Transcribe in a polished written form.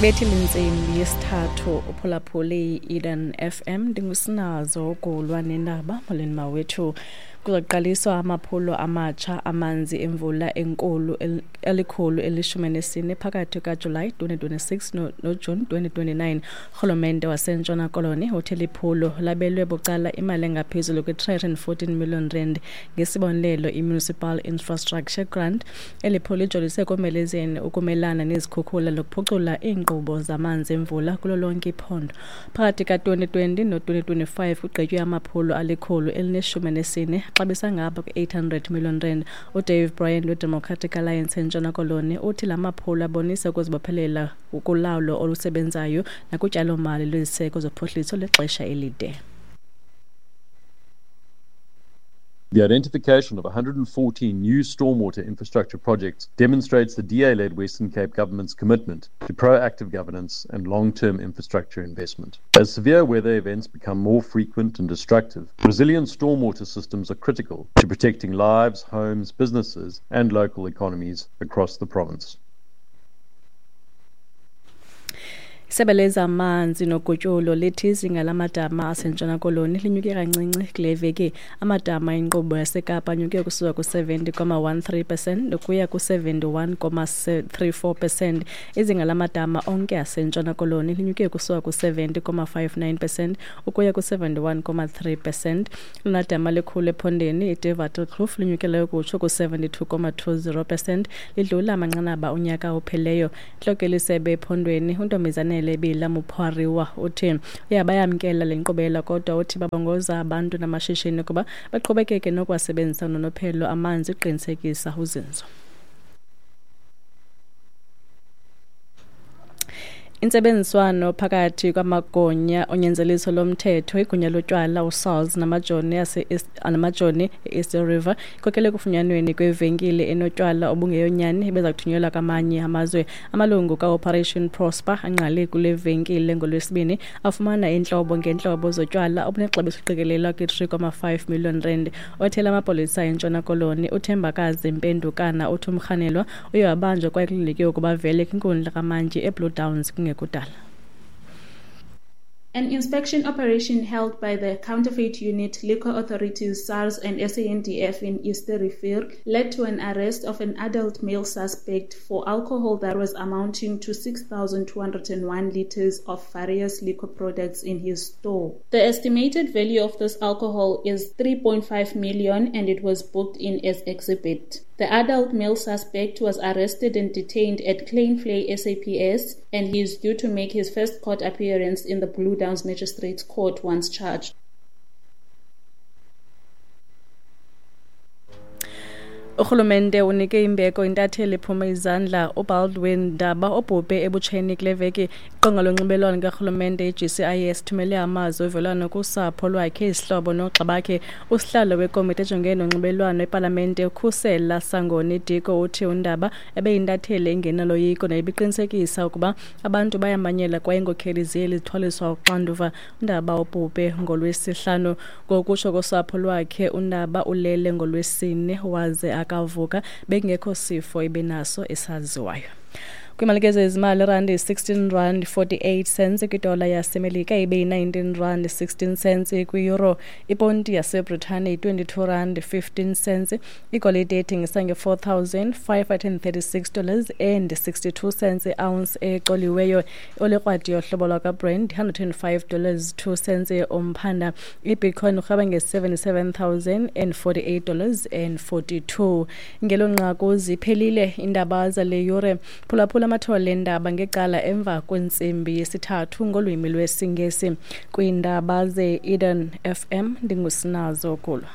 Bethi lintsimbi yesithathu uphulaphule i-Eden FM. Ndingusinazo ukulwa nendaba. Molweni mawethu. Kuzoqaliswa amaphulo amatsha amanzi emvula enkulu elikhulu elishumi nesine phakathi kaJulayi 2026 noJuni 2029. Urhulumente waseNtshona Koloni uthe liphulo labelwe bucala imali engaphezulu kwi-314 million rand ngesibonelelo i-Municipal Infrastructure Grant. Eli phulo lijolise ekomelezeni ukumelana nezikhukhula nokuphucula iinkqubo zamanzi emvula kulo lonke iphondo. Phakathi ka-2020 no-2025 kugqitywe amaphulo alikhulu elineshumi nesine xabisa ngapha kwe-800 million rand. UDave Bryan weDemocratic Alliance eNtshona Koloni uthi la maphulo abonisa ukuzibophelela kulawulo olusebenzayo nakutyalomali lweziseko zophuhliso lwexesha elide. The identification of 114 new stormwater infrastructure projects demonstrates the DA-led Western Cape government's commitment to proactive governance and long-term infrastructure investment. As severe weather events become more frequent and destructive, resilient stormwater systems are critical to protecting lives, homes, businesses, and local economies across the province. Isebe lezamanzi nogutyulo lithi izinga lamadama aseNtshona Koloni linyuke kancinci kule veki. Amadama enkqubo yaseKapa anyuke kusuka ku-70,13 percent ukuya ku-71,34 percent. Izinga lamadama onke aseNtshona Koloni linyuke kusuka ku-70,59 percent ukuya ku-71,3 percent. Elona dama likhulu ephondweni iDewaterkloof linyukeleyo kutsho ku-72,20 percent, lidlula amanqanaba onyaka ophelileyo. Intloko yelisebe ephondweni uNtombizanele Bila Mupariwa uthi uyabayamkela le nkqubela, kodwa uthi babongoza abantu namashishini ukuba baqhubekeke nokuwasebenzisa nonophelo amanzi ukuqinisekisa uzinzo. Intsebenziswano phakathi kwamagunya onyanzeliso lomthetho, igunya lotywala uSARS namajoni e-East River ikhokele ekufunyanweni kwevenkile enotywala obungeyonyani ebeza kuthunyelwa kwamanye amazwe. Amalungu kaOperation Prosper angqale kule venkile ngoLwesibini afumana iintlobo ngeentlobo zotywala obunexabiso eliqikelelwa kwi-3.5 million rand. Othela amapolisa eNtshona Koloni uThembakazi Mpendukana uthi umrhanelwa uye wabanjwa kwaye kulindeleke ukuba avele kwinkundla kamantyi eBlue Downs kungekudala. An inspection operation held by the Counterfeit Unit, Liquor Authorities, SARS and SANDF in East Rivier led to an arrest of an adult male suspect for alcohol that was amounting to 6,201 liters of various liquor products in his store. The estimated value of this alcohol is 3.5 million and it was booked in as exhibit. The adult male suspect was arrested and detained at Kleinvlei SAPS, and he is due to make his first court appearance in the Blue Downs Magistrates Court once charged. Urhulumente unike imbeko intatheli ephume izandla uBaldwin Ndaba obhubhe ebutsheni kule veki. Iqonga lonxibelelwano likarhulumente iGCIS ithumele amazwi ovelwano kusapho lwakhe, izihlobo noogxa bakhe. Usihlalo wekomiti ejongene nonxibelelwano epalamente uKhusela Sangoni Diko uthi uNdaba ebeyintatheli engenaloyiko nebiqinisekisa ukuba abantu bayamanyela kwaye iinkokheli zeli zithwaliswa uxanduva. UNdaba ubhubhe ngoLwesihlanu. Ngokutsho kosapho lwakhe, uNdaba ulele ngoLwesine waze akavuka, bekungekho sifo ebenaso esaziwayo. Kwimalike zezimali, irandi yi-16 rand 48 cents kwidola yaseMelika, ibe yi-19 rand 16 cents kwi-euro. Iponti yaseBritane yi-22 rand 15 cents. Igolide ethengisa nge-$4,536 dollars and 62 cents i-ounce ecoliweyo. Olikrwadi yohlobo lwakwaBrent $105 dollars 2 cents umphanda. IBitcoin urhweba nge-$77,048 dollars and 42. Ngelo nqaku ziphelile iindaba zale yure. Phulaphula amathole endaba ngecala emva kwentsimbi yesithathu ngolwimi lwesiNgesi. Kwiindaba ze-Eden FM ndingusinazo Kulwa.